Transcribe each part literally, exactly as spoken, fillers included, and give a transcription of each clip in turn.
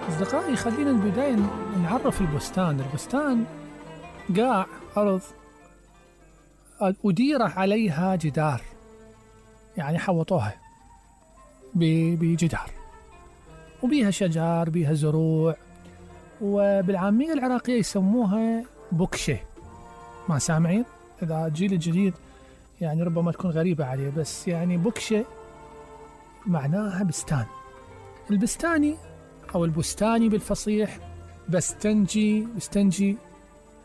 أصدقائي، خلينا البداية نعرف البستان. البستان قاع أرض أدير عليها جدار، يعني حوطوها بجدار وبيها شجر، بيها زروع، وبالعامية العراقية يسموها بكشة. ما سامعين؟ إذا الجيل الجديد يعني ربما تكون غريبة عليه، بس يعني بكشة معناها بستان. البستاني أو البستاني بالفصيح بستنجي بستنجي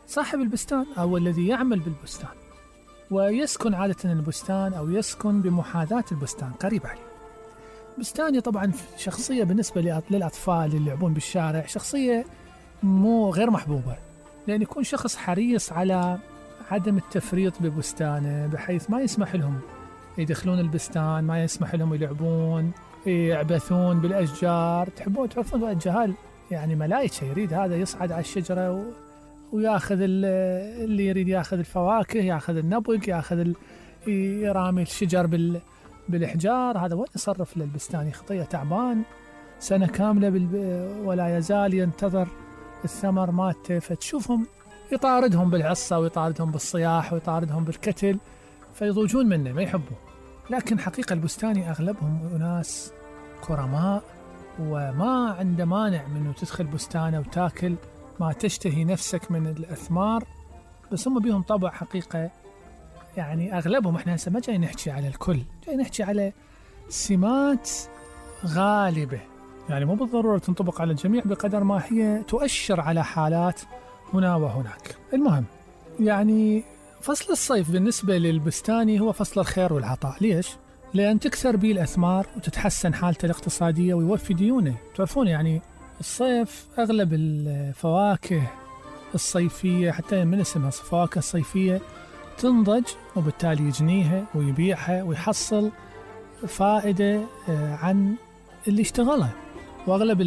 صاحب البستان أو الذي يعمل بالبستان، ويسكن عادة البستان أو يسكن بمحاذاة البستان قريب عليه. بستاني طبعا شخصية بالنسبة للأطفال اللي يلعبون بالشارع، شخصية مو غير محبوبة، لأن يكون شخص حريص على عدم التفريط ببستانه، بحيث ما يسمح لهم يدخلون البستان، ما يسمح لهم يلعبون يعبثون بالأشجار. تحبون تعرفون الجهال يعني ملايكة، يريد هذا يصعد على الشجرة و... وياخذ اللي يريد، ياخذ الفواكه، ياخذ النبق، ياخذ ال... يرامي الشجر بال... بالإحجار. هذا وين يصرف للبستاني؟ خطية تعبان سنة كاملة بال... ولا يزال ينتظر الثمر مالته، فتشوفهم يطاردهم بالعصا ويطاردهم بالصياح ويطاردهم بالكتل، فيضوجون منه ما يحبون. لكن حقيقة البستاني أغلبهم أناس كرماء، وما عنده مانع منه تدخل بستانه وتاكل ما تشتهي نفسك من الأثمار، بس هم بيهم طبع حقيقة. يعني أغلبهم، احنا هسه ما جاي نحكي على الكل، جاي نحكي على سمات غالبة، يعني مو بالضرورة تنطبق على الجميع بقدر ما هي تؤشر على حالات هنا وهناك. المهم يعني فصل الصيف بالنسبة للبستاني هو فصل الخير والعطاء. ليش؟ لأن تكثر به الأثمار وتتحسن حالته الاقتصادية ويوفي ديونه. تعرفون يعني الصيف أغلب الفواكه الصيفية، حتى من اسمها فواكه الصيفية، تنضج، وبالتالي يجنيها ويبيعها ويحصل فائدة عن اللي اشتغلها. وأغلب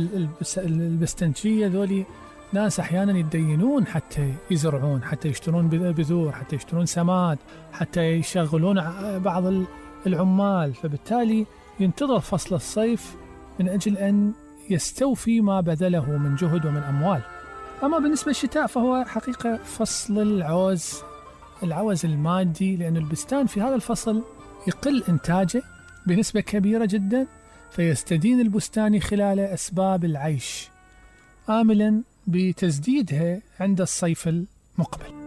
البستنجية ذولي ناس أحيانا يتدينون حتى يزرعون، حتى يشترون بذور، حتى يشترون سماد، حتى يشغلون بعض العمال، فبالتالي ينتظر فصل الصيف من أجل أن يستوفي ما بذله من جهد ومن أموال. أما بالنسبة للشتاء فهو حقيقة فصل العوز، العوز المادي، لأن البستان في هذا الفصل يقل إنتاجه بنسبة كبيرة جدا، فيستدين البستاني خلاله أسباب العيش، آملا بتسديدها عند الصيف المقبل.